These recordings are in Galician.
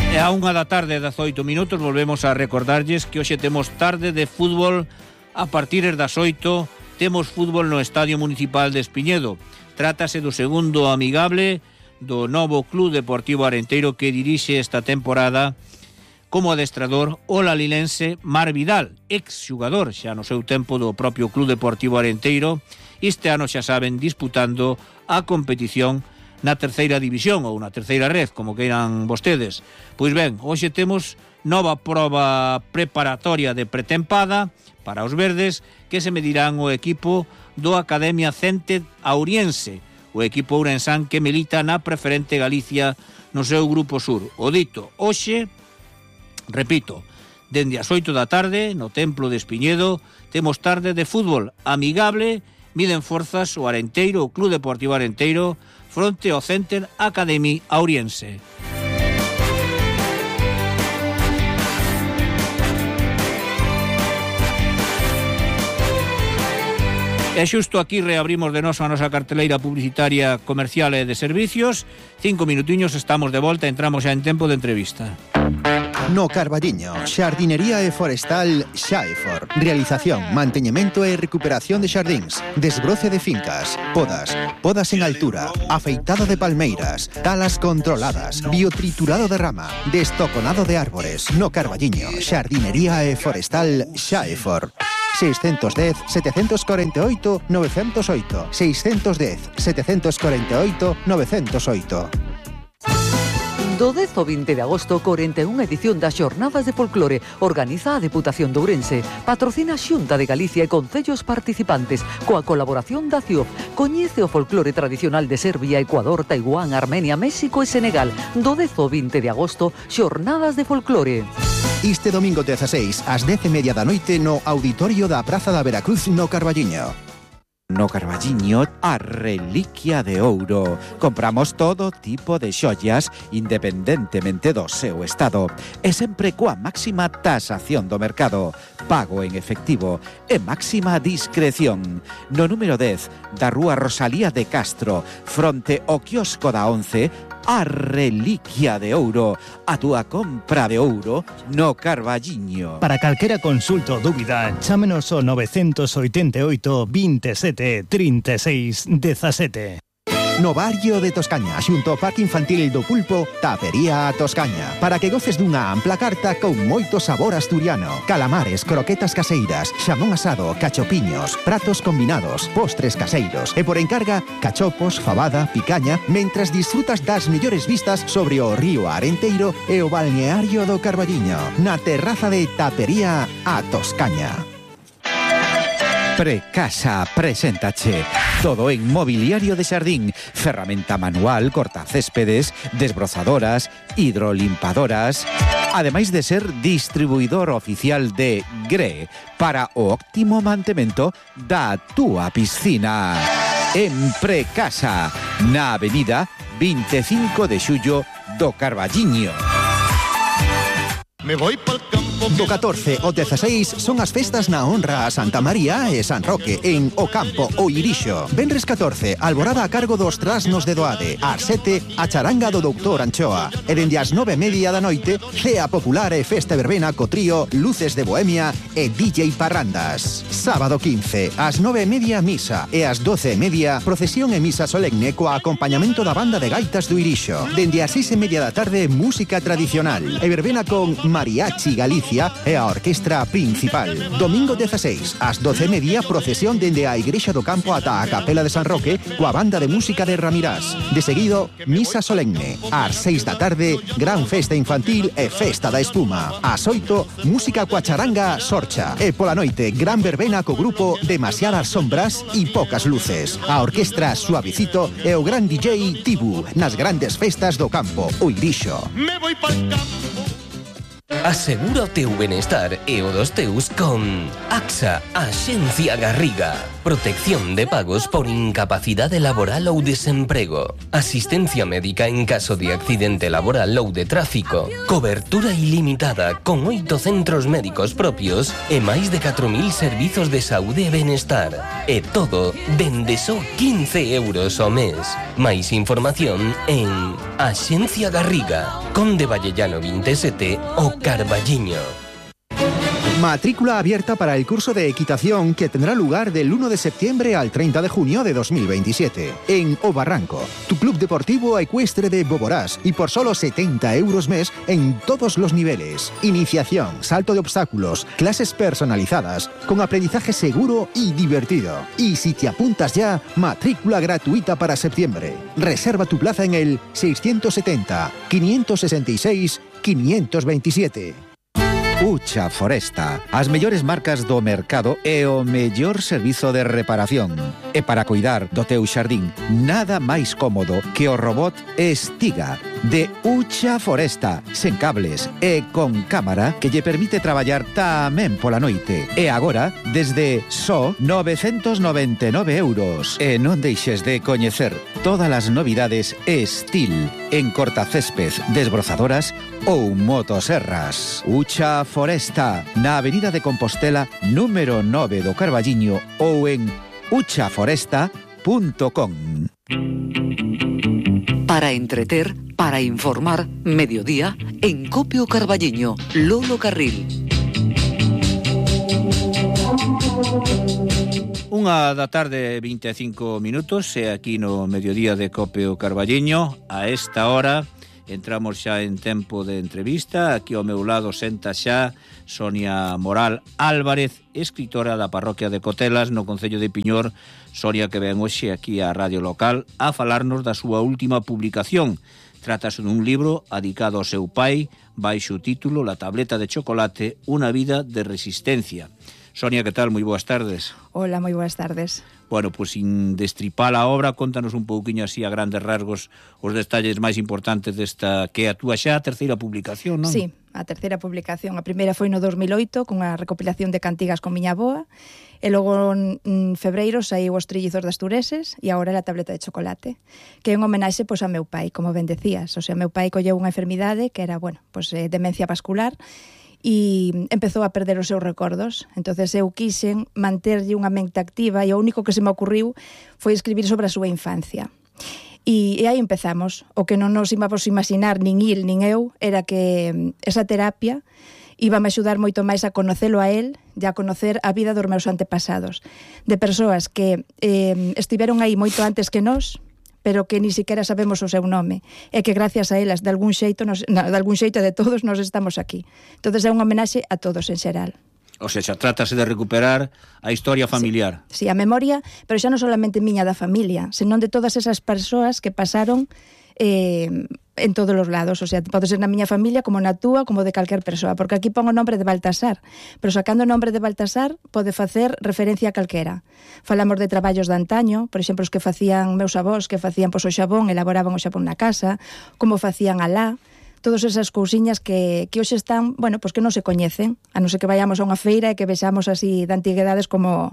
E a 1:18 PM volvemos a recordarlles que hoxe temos tarde de fútbol a partir das 8. Temos fútbol no Estadio Municipal de Espiñedo. Trátase do segundo amigable do novo Club Deportivo Arenteiro que dirixe esta temporada como adestrador o lalilense Mar Vidal, ex-xugador xa no seu tempo do propio Club Deportivo Arenteiro. Este ano xa saben disputando a competición na terceira división ou na terceira red, como queiran vostedes. Pois ben, hoxe temos nova proba preparatoria de pretempada para os verdes que se medirán o equipo do Academia Cente Auriense, o equipo ourensán que milita na Preferente Galicia no seu grupo sur. O dito, hoxe, repito, dende as 8 da tarde no Templo de Espiñedo temos tarde de fútbol amigable, miden forzas o Arenteiro, o Club Deportivo Arenteiro, fronte ao Center Academy Auriense. E xusto aquí reabrimos de noso a nosa carteleira publicitaria comercial e de servicios. 5 minutiños, estamos de volta, entramos xa en tempo de entrevista. No Carballiño, xardinería e forestal Xaefor. Realización, manteñemento e recuperación de xardíns, desbroce de fincas, podas en altura, afeitado de palmeiras, talas controladas, biotriturado de rama, destoconado de árbores. No Carballiño, xardinería e forestal Xaefor. 610 748 908 610 748 908. Do 10 ao 20 de agosto, 41 edición das Xornadas de Folclore. Organiza a Deputación de Ourense. Patrocina a Xunta de Galicia e concellos participantes. Coa colaboración da CIOF. Coñece o folclore tradicional de Serbia, Ecuador, Taiwán, Armenia, México e Senegal. Do 10 ao 20 de agosto, Xornadas de Folclore. Este domingo 16, ás 10:30 da noite, no Auditorio da Praza da Veracruz, no Carballiño. No Carballiño, a reliquia de ouro. Compramos todo tipo de xollas independentemente do seu estado e sempre coa máxima tasación do mercado, pago en efectivo e máxima discreción. No número 10 da Rúa Rosalía de Castro, fronte ao quiosco da 11, a reliquia de ouro, a túa compra de ouro no Carballiño. Para calquera consulta ou dúbida, chámenos ao 988 27 36 17. No barrio de Toscaña, xunto ao Parque Infantil do Pulpo, Tapería a Toscaña. Para que goces dunha ampla carta con moito sabor asturiano. Calamares, croquetas caseiras, xamón asado, cachopiños, pratos combinados, postres caseiros. E por encarga, cachopos, fabada, picaña, mentras disfrutas das mellores vistas sobre o río Arenteiro e o balneario do Carballiño. Na terraza de Tapería a Toscaña. Precasa preséntache todo en mobiliario de xardín, ferramenta manual, cortacéspedes, desbrozadoras, hidrolimpadoras, ademais de ser distribuidor oficial de GRE para o óptimo mantemento da túa piscina. En Precasa, na avenida 25 de xullo do Carballiño. Me voy pa'l campo. Do 14 ao 16 son as festas na honra a Santa María e San Roque en O Campo, o Irixo. Venres 14, alborada a cargo dos trasnos de Doade. Ás 7, a charanga do Doutor Anchoa. E dende as 9:30 da noite, cea popular e festa verbena co trío Luces de Bohemia e DJ Parrandas. Sábado 15, ás 9:30 misa e ás 12:30 procesión e misa solemne coa acompañamento da banda de gaitas do Irixo. Dende as 6:30 da tarde, música tradicional e verbena con Mariachi Galicia e a orquestra principal. Domingo 16, ás 12:30, procesión dende a Igrexa do Campo ata a Capela de San Roque coa banda de música de Ramirás. De seguido, misa solemne. Ás 6 da tarde, gran festa infantil e festa da espuma. Ás 8, música coa charanga Sorcha. E pola noite, gran verbena co grupo Demasiadas Sombras e Pocas Luces. A orquestra Suavecito e o gran DJ Tibu nas grandes festas do campo, o Irixo. Me voy pa'l campo. Asegura o teu benestar e o dos teus con AXA, Axencia Garriga. protección de pagos por incapacidade laboral ou desemprego, asistencia médica en caso de accidente laboral ou de tráfico, cobertura ilimitada con 8 centros médicos propios e máis de 4.000 servizos de saúde e benestar. E todo dende só 15 euros ao mes. Máis información en Axencia Garriga, Conde Vallellano 27, o Carballiño. Matrícula abierta para el curso de equitación que tendrá lugar del 1 de septiembre al 30 de junio de 2027 en O Barranco, tu club deportivo ecuestre de Boborás, y por solo 70 euros mes en todos los niveles. Iniciación, salto de obstáculos, clases personalizadas, con aprendizaje seguro y divertido. Y si te apuntas ya, matrícula gratuita para septiembre. Reserva tu plaza en el 670 566 527. Ucha Foresta, as mellores marcas do mercado e o mellor servizo de reparación. E para cuidar do teu xardín, nada máis cómodo que o robot Estiga de Ucha Foresta, sen cables e con cámara que lle permite traballar tamén pola noite. E agora, desde só 999 euros. E non deixes de coñecer todas as novidades Estil en cortacésped, desbrozadoras ou motoserras. Ucha Foresta, na Avenida de Compostela, número 9 do Carballiño, ou en uchaforesta.com. Para entreter, para informar, mediodía, en Copio Carballiño, Lolo Carril. Unha da tarde, 25 minutos, e aquí no mediodía de Copio Carballiño. A esta hora entramos xa en tempo de entrevista. Aquí ao meu lado senta xa Sonia Moral Álvarez, escritora da parroquia de Cotelas, no concello de Piñor. Sonia, que ven hoxe aquí á radio local a falarnos da súa última publicación. Trátase dun libro adicado ao seu pai, baixo o título La tableta de chocolate, unha vida de resistencia. Sonia, que tal? Moi boas tardes. Hola, moi boas tardes. Bueno, pues sin destripar a obra, contanos un pouquiño así a grandes rasgos os detalles máis importantes desta, que é a túa xa terceira publicación, non? Sí, a terceira publicación. A primeira foi no 2008, con a recopilación de cantigas con miña avoa, e logo en febreiro saiu Os trillizos das Tureses, e agora La tableta de chocolate, que é un homenaxe pois a meu pai, como ben decías. O sea, meu pai colleu unha enfermidade que era, bueno, pois demencia vascular, e empezou a perder os seus recordos. Entonces eu quixen manterlle unha mente activa, e o único que se me ocurriu foi escribir sobre a súa infancia. E aí empezamos. O que non nos íbamos imaginar, nin il, nin eu, era que esa terapia íbame a axudar moito máis a conocelo a él e a conocer a vida dos meus antepasados, de persoas que estiveron aí moito antes que nós, pero que ni siquiera sabemos o seu nome, e que gracias a elas, de algún xeito de todos, nos estamos aquí. Entonces é un homenaxe a todos en xeral. O sea, xa trátase de recuperar a historia familiar. Sí, a memoria, pero xa non solamente miña da familia, senón de todas esas persoas que pasaron en todos os lados. O sea, pode ser na miña familia, como na túa, como de calquer persoa, porque aquí pon o nombre de Baltasar, pero sacando o nombre de Baltasar pode facer referencia a calquera. Falamos de traballos de antaño, por exemplo, os que facían meus avós, que facían pois o xabón, elaboraban o xabón na casa, como facían alá, todas esas cousiñas que hoxe están, bueno, pois que non se coñecen, a non ser que vayamos a unha feira e que vexamos así de antiguidades como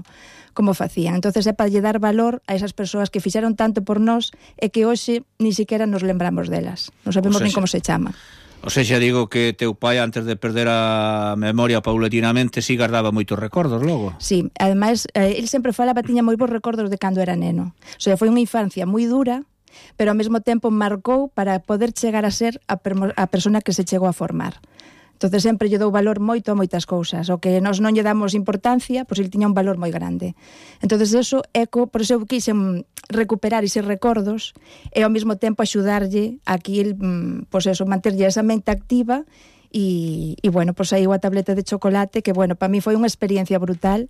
facían. Entonces é para lle dar valor a esas persoas que fixeron tanto por nós e que hoxe ni siquiera nos lembramos delas. Non sabemos nin como se chama. O sea, xa digo que teu pai, antes de perder a memoria paulatinamente, sí guardaba moitos recordos logo. Sí, ademais, el sempre falaba, tiña moi bons recordos de cando era neno. O sea, foi unha infancia moi dura, pero ao mesmo tempo marcou para poder chegar a ser a persona que se chegou a formar. Entonces sempre lle dou valor moito a moitas cousas. O que nós non lle damos importancia, pois ele tiña un valor moi grande. Entonces eso por eso eu quixen recuperar eses recordos e ao mesmo tempo axudarlle a que el, pois eso, manterlle esa mente activa e bueno, pois aí a tableta de chocolate, que bueno, para mí foi unha experiencia brutal.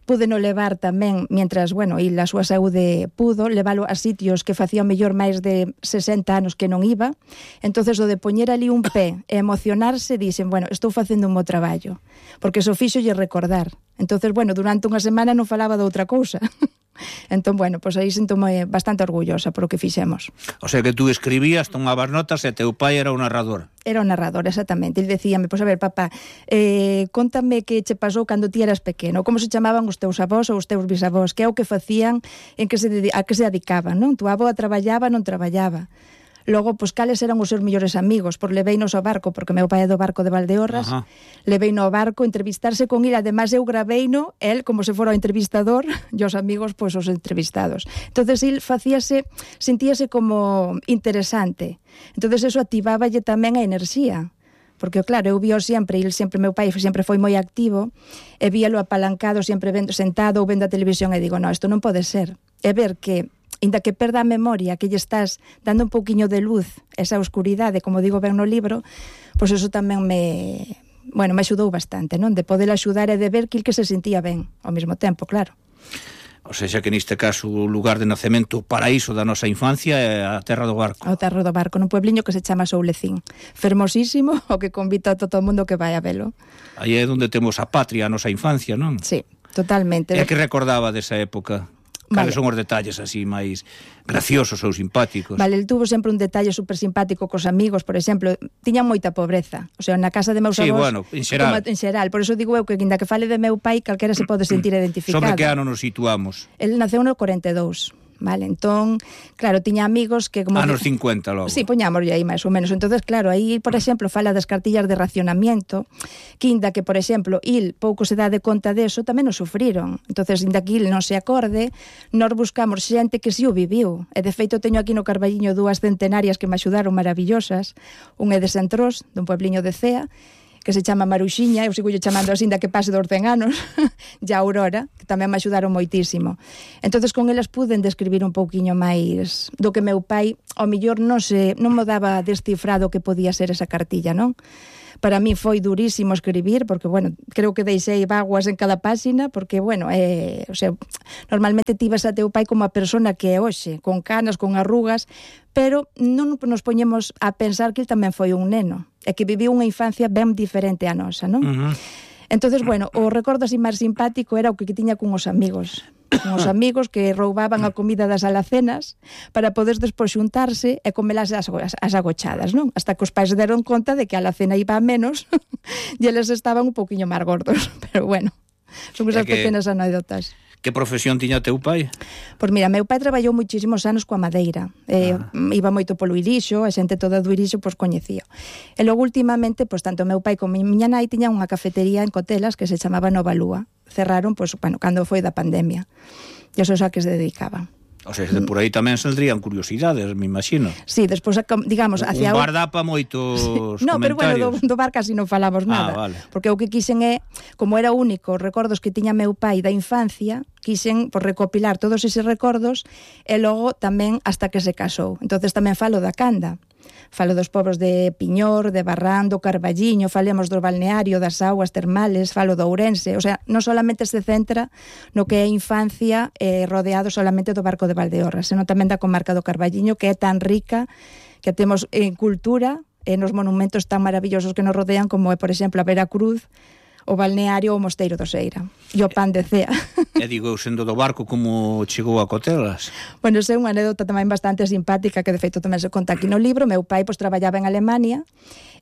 Pude no levar tamén, mientras, bueno, e a súa saúde pudo, levalo a sitios que facían mellor máis de 60 anos que non iba. Entonces, o de poñer ali un pé e emocionarse, dixen, bueno, estou facendo un bo traballo, porque eso fixo lle recordar. Entonces, bueno, durante unha semana non falaba de outra cousa. Entón, bueno, pois aí sinto-me bastante orgullosa por o que fixemos. O sea que tú escribías, tomabas notas e teu pai era o narrador. Era o narrador, exactamente. Ele decíame, pois a ver, papá, contame que che pasou cando ti eras pequeno, como se chamaban os teus avós ou os teus bisavós, que é o que facían, a que se dedicaban, non? Tu avó traballaba, non traballaba. Logo, pois, cales eran os seus mellores amigos? Por leveinos ao barco, porque meu pai é do barco de Valdeorras, leveino ao barco, entrevistarse con ele, ademais eu graveino, el como se fora o entrevistador, e os amigos, pois, os entrevistados. Entonces, el sentíase como interesante. Entonces, eso activáballe tamén a enerxía. Porque, claro, eu vio sempre, meu pai sempre foi moi activo, e víalo apalancado, sempre sentado ou vendo a televisión, e digo, no, isto non pode ser. É ver que inda que perda a memoria, que lle estás dando un pouquiño de luz, esa oscuridade, como digo ben no libro, pois eso tamén me axudou bastante, non? De poder axudar e de ver que se sentía ben ao mesmo tempo, claro. O sea, que neste caso o lugar de nacemento, o paraíso da nosa infancia é a Terra do Barco. A Terra do Barco, nun puebliño que se chama Soulecín. Fermosísimo, o que convito a todo o mundo que vai a velo. Aí é onde temos a patria, a nosa infancia, non? Sí, totalmente. E que recordaba desa época? Cales son os detalles así máis graciosos ou simpáticos? Vale, el tuvo sempre un detalle super simpático cos amigos, por exemplo, tiñan moita pobreza. O sea, na casa de meus avós... bueno, en xeral. Por eso digo eu que, inda que fale de meu pai, calquera se pode sentir identificado. Sobre que ano nos situamos? El naceu no 42. Vale, entón, claro, tiña amigos que como... Anos 50 logo. Sí, poñámoslle aí máis ou menos. Entonces, claro, aí, por exemplo, fala das cartillas de racionamiento, que inda que, por exemplo, il pouco se dá de conta deso, tamén o sufriron. Entonces, inda que il non se acorde, nós buscamos xente que si o viviu. E, de feito, teño aquí no Carballiño 2 centenarias que me axudaron maravillosas. Un é de Sentrós, dun puebliño de Cea, que se chama Maruxiña, eu sigo chamando así da que pase dos 100 anos, e a Aurora, que tamén me axudaron moitísimo. Entonces con elas puden describir un pouquiño máis do que meu pai, ao mellor non me daba descifrado que podía ser esa cartilla, non? Para mí foi durísimo escribir, porque, bueno, creo que deixei vaguas en cada páxina, porque, bueno, o sea, normalmente tives a teu pai como a persona que é hoxe, con canas, con arrugas, pero non nos poñemos a pensar que ele tamén foi un neno, e que viviu unha infancia ben diferente a nosa, non? Entonces, bueno, o recordo así máis simpático era o que tiña con os amigos. Con os amigos que roubaban a comida das alacenas para poder despois xuntarse e comelas as agochadas, non? Hasta que os pais deron conta de que a alacena iba a menos e eles estaban un poquinho máis gordos. Pero bueno, son esas pequenas anécdotas. Que profesión tiña teu pai? Pois mira, meu pai traballou moitísimos anos coa madeira. Iba moito polo Irixo, a xente toda do Irixo pois coñecía. E logo últimamente, pois tanto meu pai como miña nai tiñan unha cafetería en Cotelas que se chamaba Nova Lúa. Cerraron, pois, bueno, cando foi da pandemia. E eso é a que se dedicaban. O sea, por aí tamén saldrían curiosidades, me imagino. Sí, despois, digamos, hacia... Un bar dá pa moitos no, pero bueno, do bar casi non falamos nada. Vale. Porque o que quixen é, como era único os recordos que tiña meu pai da infancia, quixen recopilar todos eses recordos e logo tamén hasta que se casou. Entonces tamén falo da Canda. Falo dos pobros de Piñor, de Barrán, do Carballiño, falemos do balneario, das augas termales, falo do Ourense. O sea, non solamente se centra no que é infancia rodeado solamente do barco de Valdeorras, senón tamén da comarca do Carballiño, que é tan rica, que temos en cultura e nos monumentos tan maravillosos que nos rodean, como é, por exemplo, a Veracruz, o balneario ou o Mosteiro do Seira e o pan de Cea. E digo, sendo do barco, como chegou a Cotelas? Bueno, é unha anécdota tamén bastante simpática que de feito tamén se conta aquí no libro. Meu pai pois traballaba en Alemania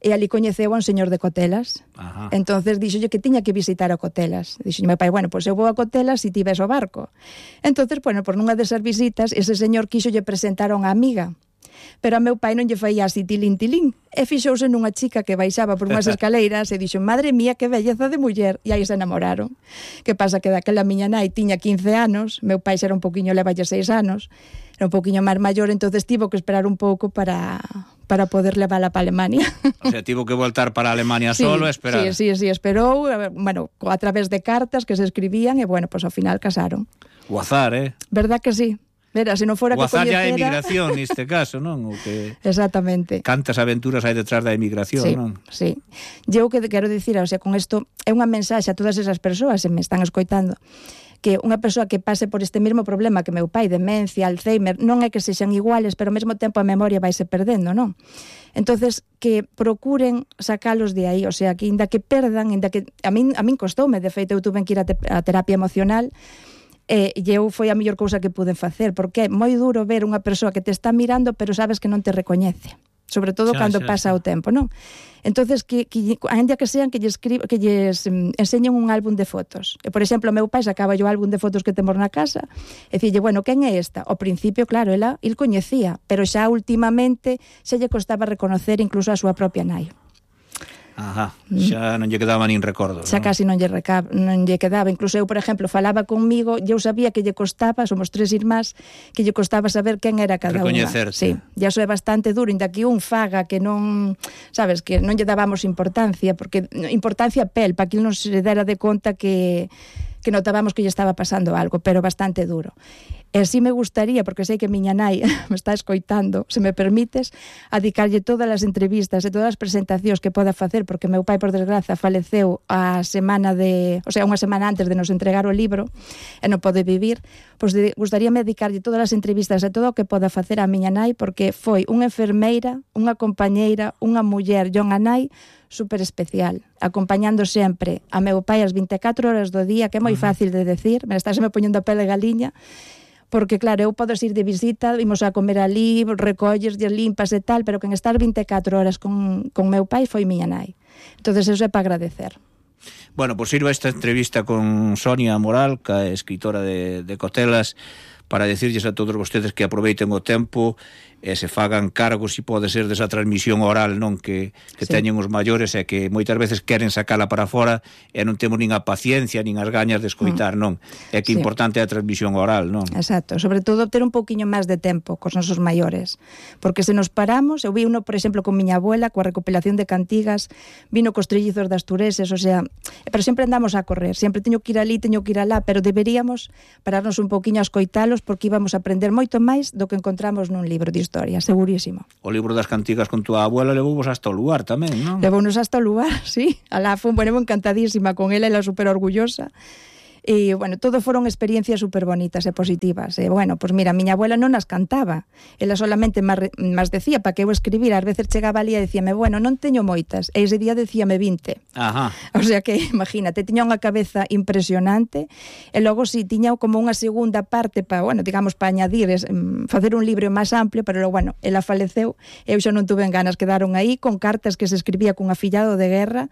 e ali coñeceu a un señor de Cotelas. Entonces dixolle que tiña que visitar a Cotelas. Dixolle meu pai, bueno, pois eu vou a Cotelas e ti ves o barco. Entonces, bueno, por nunha desas visitas ese señor quixolle presentar a unha amiga. Pero a meu pai non lle faía así tilín e fixouse nunha chica que baixaba por unhas escaleiras e dixo, madre mía, que belleza de muller, e aí se enamoraron. Que pasa que daquela miña nai tiña 15 anos, meu pai era un poquinho, levalle 6 anos, era un poquinho máis maior, entonces tivo que esperar un pouco para poder levala para Alemania. O sea, tivo que voltar para Alemania solo e esperar. Sí, esperou, bueno, a través de cartas que se escribían e, bueno, pues ao final casaron. O azar, Verdad que sí. Mira, se non fora que coñecera... O azar é a emigración, neste caso, non? O que... Exactamente. Cantas aventuras hai detrás da emigración, sí, non? Sí. Eu que quero dicir, o sea, con isto é unha mensaxe a todas esas persoas que me están escoitando, que unha persoa que pase por este mesmo problema que meu pai, demencia, Alzheimer, non é que sexan iguales, pero ao mesmo tempo a memoria vaise perdendo, non? Entonces, que procuren sacalos de aí, o sea, que inda que perdan, inda que... A min costoume, de feito, eu tuve que ir a terapia emocional. E eu foi a mellor cousa que pude facer, porque é moi duro ver unha persoa que te está mirando, pero sabes que non te recoñece. Sobre todo cando pasa o tempo, non? Entonces, ainda que sean que lles enseñen un álbum de fotos. E, por exemplo, o meu pai sacaba o álbum de fotos que temos na casa e dicille, bueno, quen é esta? Ao principio, claro, el coñecía, pero xa últimamente se lle costaba reconocer incluso a súa propia nai. Ajá, xa non lle quedaba nin recordo. Xa casi non lle quedaba. Incluso eu, por exemplo, falaba conmigo, eu sabía que lle costaba, somos 3 irmás, que lle costaba saber quen era cada unha. Recoñecerte. Sí, e iso é bastante duro, inda que un faga que non, sabes, que non lle dábamos importancia, porque importancia pel, para que non se dera de conta que notábamos que lle estaba pasando algo, pero bastante duro. E así me gustaría, porque sei que miña nai me está escoitando, se me permites, a dedicarlle todas as entrevistas e todas as presentacións que poda facer, porque meu pai, por desgraza, faleceu unha semana antes de nos entregar o libro e non pode vivir, pois gustaríame dedicarlle todas as entrevistas e todo o que poda facer a miña nai, porque foi unha enfermeira, unha compañeira, unha muller e unha nai super especial, acompañando sempre a meu pai as 24 horas do día, que é moi fácil de decir, me poñendo a pele galiña, porque claro, eu podes ir de visita, vimos a comer ali, recolles, limpas e tal, pero que en estar 24 horas con meu pai foi miña nai. Entonces eso é para agradecer. Bueno, pues sirva esta entrevista con Sonia Moral, que é escritora de Cotelas, para decirlles a todos vostedes que aproveiten o tempo e se fagan cargo, se pode ser, desa transmisión oral, non, que teñen os maiores, e que moitas veces queren sacala para fora e non temos nin a paciencia nin as gañas de escoitar, non? É que importante é a transmisión oral, non? Exacto, sobre todo ter un pouquiño máis de tempo cos nosos maiores, porque se nos paramos, eu vi uno, por exemplo, con miña abuela, coa recopilación de cantigas, vino cos trillizos das Tureses, o sea, pero sempre andamos a correr, sempre teño que ir ali, teño que ir alá, pero deberíamos pararnos un pouquiño a escoitalos, porque íbamos a aprender moito máis do que encontramos nun libro de historia, segurísimo. O libro das cantigas con túa abuela levouvos hasta o lugar tamén, non? Levounos hasta o lugar, sí. Alá fue, bueno, encantadísima con ela super orgullosa. E, bueno, todo foron experiencias super bonitas e positivas. E, bueno, pues mira, miña abuela non as cantaba. Ela solamente mas decía para que eu escribira. Ás veces chegaba ali e decíame, bueno, non teño moitas. E ese día decíame 20. Ajá. O sea que, imagínate, tiña unha cabeza impresionante. E logo, si, tiña como unha segunda parte para, bueno, digamos, para añadir, facer un libro máis amplio, pero, bueno, ela faleceu. Eu xa non tuve ganas, quedaron aí con cartas que se escribía cun afillado de guerra.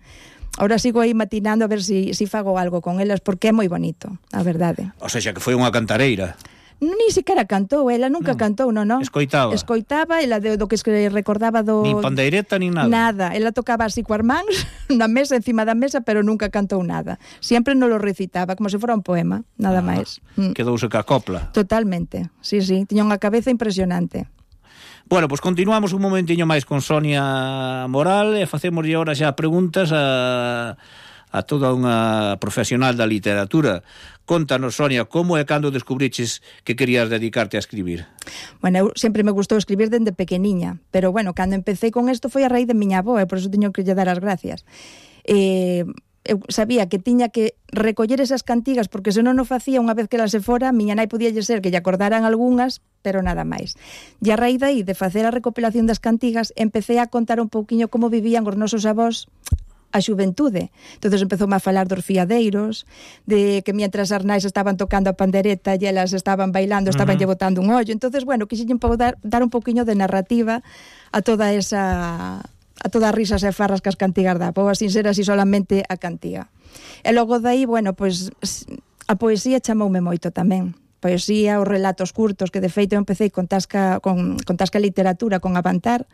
Ahora sigo aí matinando a ver si fago algo con elas, porque é moi bonito, a verdade. O sea, que foi unha cantareira. Ni siquiera cantou, ela nunca cantou, non. Escoitaba. Escoitaba, ela do que recordaba do... Nin pandeireta, nin nada. Nada, ela tocaba así coas mans na mesa, encima da mesa, pero nunca cantou nada. Sempre non lo recitaba, como se fora un poema, nada máis. Quedouse ca copla. Totalmente, sí, tiña unha cabeza impresionante. Bueno, pues continuamos un momentiño máis con Sonia Moral e facémoslle ahora xa preguntas a toda unha profesional da literatura. Contanos, Sonia, como e cando descubriches que querías dedicarte a escribir? Bueno, eu sempre me gustou escribir dende pequeniña, pero bueno, cando empecé con isto foi a raíz de miña avó, e por eso teño que lle dar as gracias. Eu sabía que tiña que recoller esas cantigas, porque se non o facía unha vez que ela se fora, miña nai podía ser que lle acordaran algunhas, pero nada máis. E a raíz de aí, de facer a recopilación das cantigas, empecé a contar un pouquiño como vivían os nosos avós a xuventude. Entonces empezoume a falar dos fiadeiros, de que mientras as nais estaban tocando a pandereta e elas estaban bailando, estaban lle botando un ollo. Entonces, bueno, quixen dar un pouquiño de narrativa a toda esa... a todas as risas e farras que as cantigas da poa, sin ser así solamente a cantiga. E logo dai, bueno, pois a poesía chamoume moito tamén. Poesía, os relatos curtos, que de feito eu empecé con Tasca Literatura, con Avantar.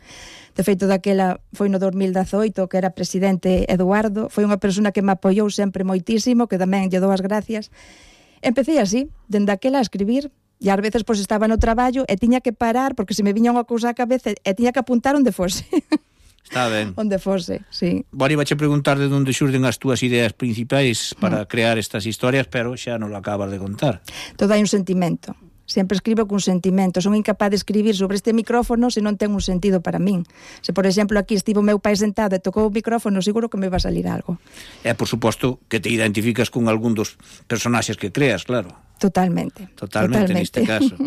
De feito, daquela foi no 2018, que era presidente Eduardo, foi unha persona que me apoiou sempre moitísimo, que tamén lle dou as gracias. Empecé así, dende aquela a escribir, e ás veces pois estaba no traballo e tiña que parar, porque se me viña unha cousa á cabeza e tiña que apuntar onde fose. Está ben. Onde fose, sí. Bueno, iba a preguntar de onde xurden as túas ideas principais para crear estas historias, pero xa non lo acabas de contar. Todo hai un sentimento. Sempre escribo con sentimento. Son incapaz de escribir sobre este micrófono se non ten un sentido para min. Se, por exemplo, aquí estivo meu pai sentado e tocou o micrófono, seguro que me va a salir algo. E, por suposto, que te identificas con algún dos personaxes que creas, claro. Totalmente. Neste caso.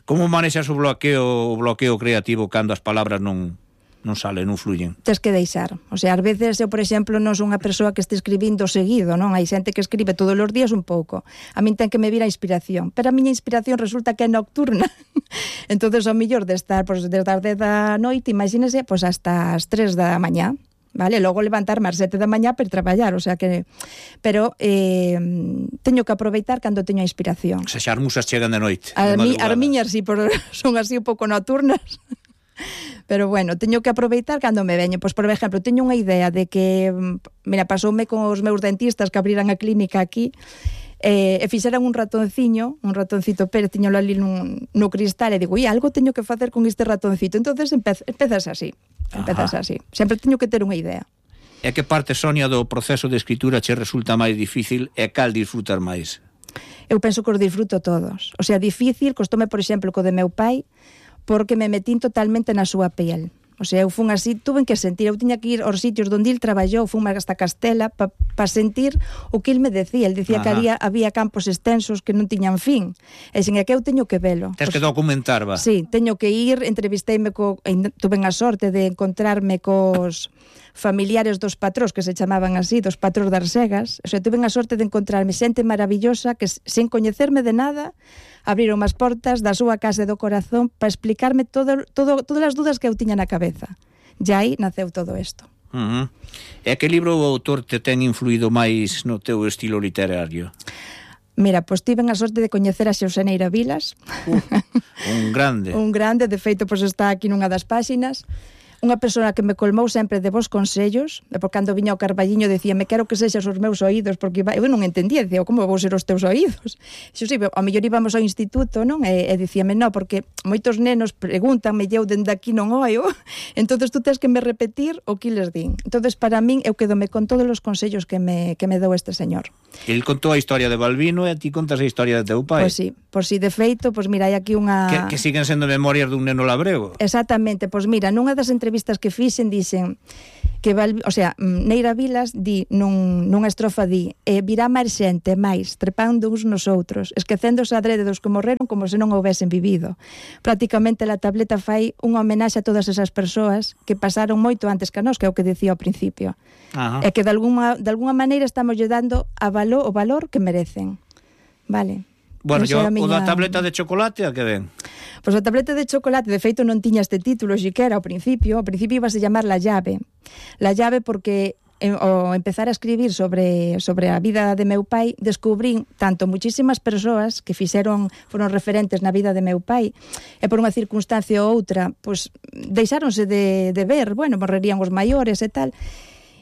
Como manexas o bloqueo creativo cando as palabras non non sale, non fluyen. Tes que deixar. O sea, ás veces eu, por exemplo, non son unha persoa que este escribindo seguido, non? Hai xente que escribe todos os días un pouco. A min ten que me vir a inspiración. Pero a miña inspiración resulta que é nocturna. Entonces, ao mellor de estar desde as 10 da noite, imagínese, hasta as 3 da mañá. Vale, logo levantarme ás 7 da mañá para traballar, o sea que... Pero teño que aproveitar cando teño a inspiración. Se xa as musas chegan de noite. As miñas sí, son así un pouco nocturnas. Pero bueno, teño que aproveitar cando me veño. Pois, por exemplo, teño unha idea de que... Mira, pasoume con os meus dentistas que abriran a clínica aquí e fixeran un ratoncito Pérez, tiñolo ali no cristal e digo, algo teño que facer con este ratoncito. Entonces empezas así. Sempre teño que ter unha idea. E que parte, Sonia, do proceso de escritura che resulta máis difícil e cal disfrutar máis? Eu penso que os disfruto todos. O sea, difícil, costoume, por exemplo, co de meu pai, porque me metín totalmente na súa piel. O sea, eu fun así, tuve que sentir, eu tiña que ir aos sitios onde il traballou, fun hasta Castela para sentir o que il me decía. El decía que había campos extensos que non tiñan fin. E sin que eu teño que velo. Tens que documentar, va. Sí, teño que ir, entrevisteime tuve a sorte de encontrarme cos familiares dos patrós, que se chamaban así, dos patrós das Arsegas. O sea, tuve a sorte de encontrarme xente maravillosa que, sen coñecerme de nada, abriron as portas da súa casa e do corazón para explicarme todas as dúdas que eu tiña na cabeza. E aí naceu todo isto. E que libro o autor te ten influído máis no teu estilo literario? Mira, pois tiven a sorte de coñecer a Xoseneira Vilas. Un grande. Un grande, de feito, pois está aquí nunha das páxinas. Unha persoa que me colmou sempre de bons consellos, e por cando viña o Carballiño decíame, quero que sexas os meus oídos, porque eu non entendía, dicía, como vou ser os teus oídos? Xo sí, ao mellor íbamos ao instituto, non? E dicíame, non, porque moitos nenos pregúntanme, eu dende aquí non oio, entonces tú tens que me repetir o que les din. Entonces, para min, eu quedome con todos os consellos que me dou este señor. El contou a historia de Balbino e a ti contas a historia de teu pai. Pois sí, de feito, pois mira, hai aquí unha... Que siguen sendo memorias dun neno labrego. Exactamente, pois mira, nunha das entrevistas que fixen dicen que Neira Vilas di nunha estrofa virá máis xente máis trepando uns nos outros, esquecéndose adrede dos que morreron como se non houvesen vivido. Prácticamente a tableta fai unha homenaxe a todas esas persoas que pasaron moito antes que a nós, que é o que dicía ao principio. E que de alguna maneira estamos lle dando o valor que merecen. Vale. Bueno, o da tableta de chocolate, a que ven? Pois a tableta de chocolate, de feito, non tiña este título xiquera ao principio ibase llamar La Llave. La Llave porque ao empezar a escribir sobre a vida de meu pai, descubrín tanto muchísimas persoas que foron referentes na vida de meu pai, e por unha circunstancia ou outra, pois deixáronse de ver, morrerían os maiores e tal,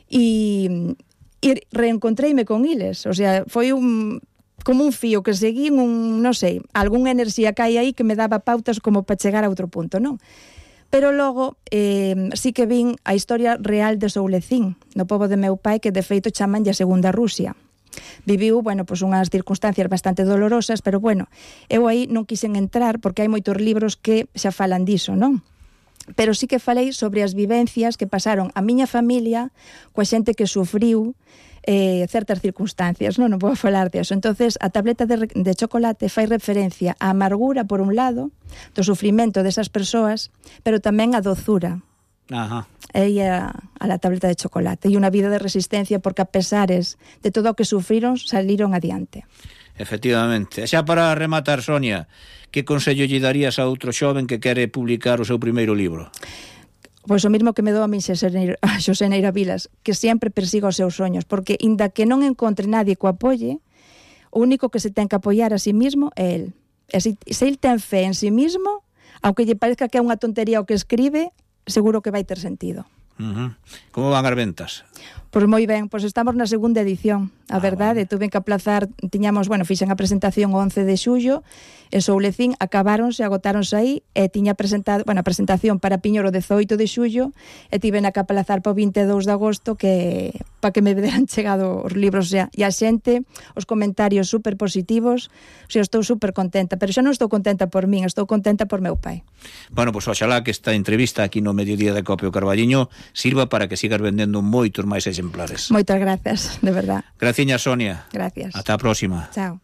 e reencontreime con iles, o sea, foi como un fío que seguín, non sei, algunha enerxía que hai aí que me daba pautas como para chegar a outro punto, non? Pero logo sí que vin a historia real de Soulecín, no pobo de meu pai, que de feito chamanlle a Segunda Rusia. Viviu, unhas circunstancias bastante dolorosas, pero eu aí non quixen entrar porque hai moitos libros que xa falan diso, non? Pero sí que falei sobre as vivencias que pasaron a miña familia coa xente que sufriu certas circunstancias, non vou falar de eso. Entonces, a tableta de chocolate fai referencia á amargura, por un lado, do sufrimento desas persoas, pero tamén a dozura. E a la tableta de chocolate. E unha vida de resistencia, porque a pesares de todo o que sufriron, saliron adiante. Efectivamente. E xa para rematar, Sonia, que consello lle darías a outro xoven que quere publicar o seu primeiro libro? Pois o mesmo que me dou a min Xoseneira Vilas, que sempre persiga os seus soños, porque inda que non encontre nadie que o apoie, o único que se ten que apoiar a sí mismo é el. E se el ten fe en sí mismo, aunque lle parezca que é unha tontería o que escribe, seguro que vai ter sentido. Como van as ventas? Pois moi ben, pois estamos na segunda edición, a verdade, tuve que aplazar, fixen a presentación o 11 de xullo, en Soulecín agotáronse aí, e tiña presentado, a presentación para Piñor o 18 de xullo, e tiven que aplazar para o 22 de agosto para que me deran chegado os libros, e a xente, os comentarios super positivos, estou super contenta, pero xa non estou contenta por min, estou contenta por meu pai. Pois oxalá que esta entrevista aquí no Mediodía de Copio Carballiño sirva para que sigas vendendo moitos máis exemplares. Moitas grazas, de verdad. Graciña, Sonia. Gracias. Ata a próxima. Chao.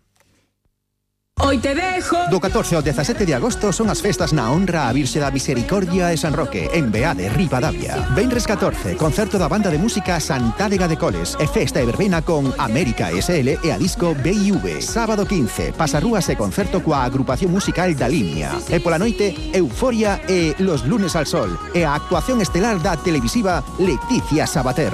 Hoy te dejo. Do 14 ao 17 de agosto son as festas na honra a Virxe da Misericordia e San Roque, en Beade, Ribadavia. Venres 14, concerto da banda de música Santádega de Coles e festa e verbena con América SL e a disco B&V. Sábado 15, pasarrúas e concerto coa agrupación musical da Línea. E pola noite, Euforia e Los Lunes al Sol e a actuación estelar da televisiva Leticia Sabater.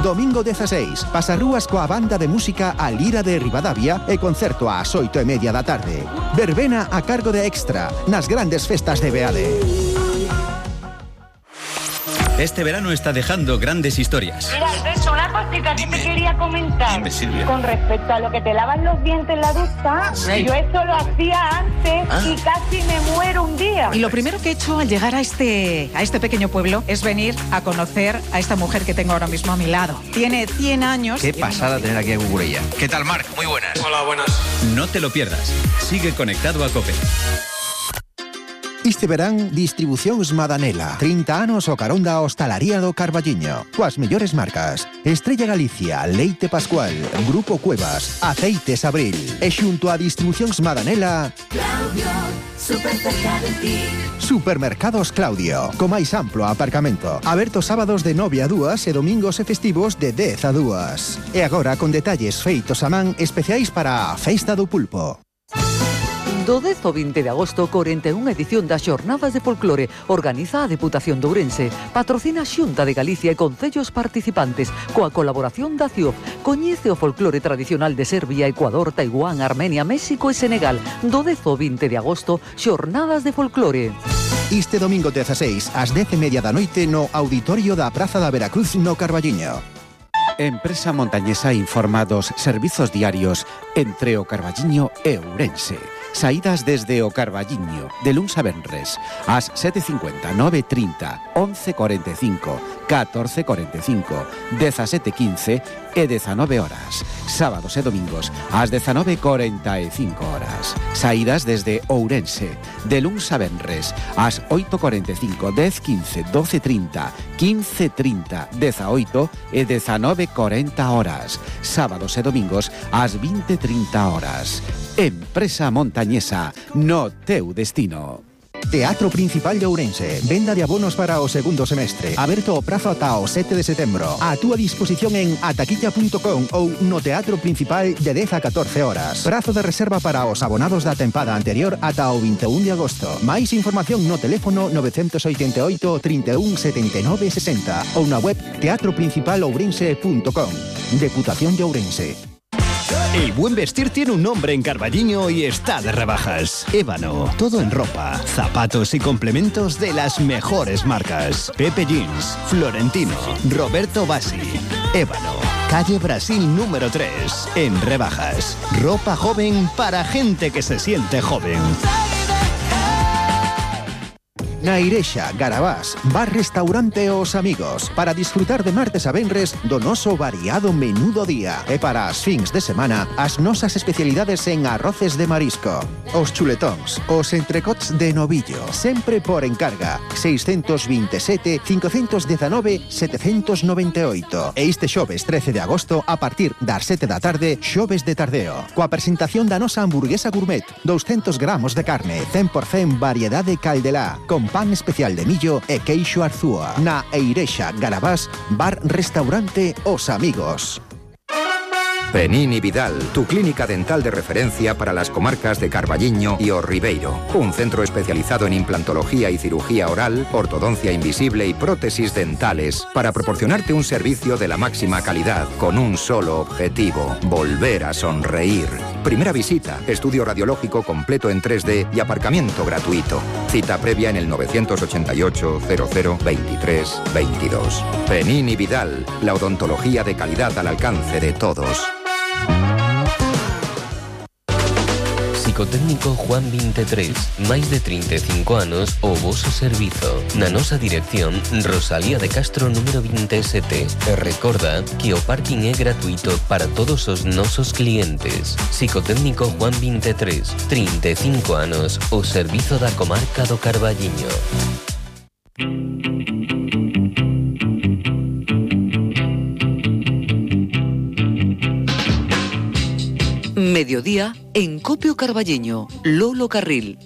Domingo 16, pasarrúas coa banda de música A Lira de Ribadavia e concerto ás 8:30 da tarde. Verbena a cargo de Extra nas grandes festas de Beade. Este verano está dejando grandes historias. Mira, Alberto, una cosita que te quería comentar. Dime, Silvia. Con respecto a lo que te lavas los dientes en la ducha, Sí. yo eso lo hacía antes y casi me muero un día. Y lo primero que he hecho al llegar a este pequeño pueblo es venir a conocer a esta mujer que tengo ahora mismo a mi lado. Tiene 100 años. Qué pasada tener aquí a Cucurella. ¿Qué tal, Marc? Muy buenas. Hola, buenas. No te lo pierdas. Sigue conectado a COPE. Este verán, Distribucións Madanela. 30 anos o carón da hostalaría do Carballiño. Coas mellores marcas. Estrella Galicia, Leite Pascual, Grupo Cuevas, Aceites Abril. E xunto a Distribucións Madanela... Claudio, super cerca de ti. Supermercados Claudio, co máis amplo aparcamento. Aberto sábados de 9 a 2 e domingos e festivos de 10 a 2. E agora con detalles feitos a man especiais para a Festa do Pulpo. Do 10 ao 20 de agosto, 41 edición das Xornadas de Folclore. Organiza a Deputación de Ourense. Patrocina a Xunta de Galicia e concellos participantes. Coa colaboración da CIOF. Coñece o folclore tradicional de Serbia, Ecuador, Taiwán, Armenia, México e Senegal. Do 10 ao 20 de agosto, Xornadas de Folclore. Este domingo 16, ás 10:30 da noite, no Auditorio da Praza da Veracruz, no Carballiño. Empresa Montañesa informa dos servizos diarios entre o Carballiño e Ourense. Saídas desde o Carballiño, de luns a venres, ás 7:50, 9:30, 11:45, 14:45, 17:15 e 19 horas. Sábados e domingos, ás 19:45 horas. Saídas desde Ourense, de luns a venres, ás 8:45, 10:15, 12:30, 15:30, 18 e 19:40 horas. Sábados e domingos, ás 20:30 horas. Empresa Montañesa, no teu destino. Teatro Principal de Ourense. Venda de abonos para o segundo semestre. Aberto o prazo ata o 7 de setembro. A túa disposición en ataquilla.com ou no Teatro Principal de 10 a 14 horas. Prazo de reserva para os abonados da tempada anterior ata o 21 de agosto. Máis información no teléfono 988 31 79 60 ou na web teatroprincipalourense.com. Deputación de Ourense. El buen vestir tiene un nombre en Carballiño y está de rebajas. Ébano, todo en ropa, zapatos y complementos de las mejores marcas. Pepe Jeans, Florentino, Roberto Bassi. Ébano, calle Brasil número 3, en rebajas. Ropa joven para gente que se siente joven. Na Irexa, Garabás, bar-restaurante Os Amigos, para disfrutar de martes a venres do noso variado menú do día. E para as fins de semana, as nosas especialidades en arroces de marisco. Os chuletóns, os entrecots de novillo, sempre por encarga. 627 519 798. E este xoves 13 de agosto, a partir das 7 da tarde, xoves de tardeo. Coa presentación da nosa hamburguesa gourmet, 200 gramos de carne, 100% variedade caldelá, con pan especial de millo e queixo arzúa. Na Eirexa, Garabás, bar-restaurante Os Amigos. Penini Vidal, tu clínica dental de referencia para las comarcas de Carballiño y O Ribeiro. Un centro especializado en implantología y cirugía oral, ortodoncia invisible y prótesis dentales para proporcionarte un servicio de la máxima calidad con un solo objetivo: volver a sonreír. Primera visita, estudio radiológico completo en 3D y aparcamiento gratuito. Cita previa en el 988 00 23 22. Penini Vidal, la odontología de calidad al alcance de todos. Psicotécnico Juan 23, máis de 35 anos o voso servizo. Na nosa dirección, Rosalía de Castro número 27. E recorda que o parking é gratuito para todos os nosos clientes. Psicotécnico Juan 23, 35 anos o servizo da comarca do Carballiño. Mediodía en Copio Carballiño, Lolo Carril.